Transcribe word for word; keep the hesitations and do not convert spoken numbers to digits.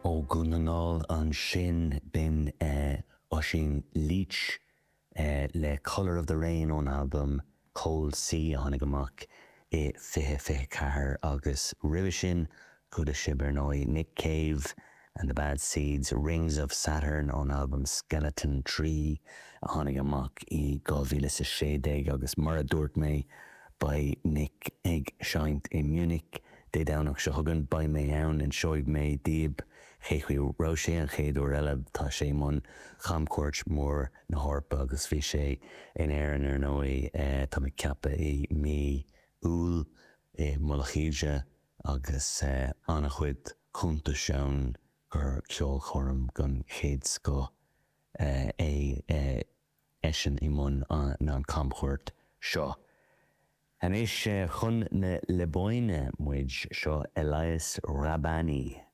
Ó Dhún na nGall ansin b'in Oisín Leach le Colour of the Rain ón albam Cold Sea a tháinig amach i fiche fiche ceathair agus roimhe sin chuala sibh ar ndóigh Nick Cave and the Bad Seeds, Rings of Saturn ón albam Skeleton Tree a tháinig amach i dhá mhíle is a sé déag agus mar a dúirt mé beidh Nick ag seinnt i Munich Dé Domhnach seo chugainn beidh mé ann inseoidh mé daoibh cé chaoi raibh sé an chéad uair eile tá sé i mbun chamchuairt mór na hEorpa agus bhí sé in Éirinn ar ndóigh tá mé ag ceapadh i mí Iúil i Mullach Íde agus an-chuid cuntais ann gur ceolchoirm den chéad scoth é eisean i mbun an chamchuairt seo. Anois chun na Liobáine muid seo Elias Rahbani.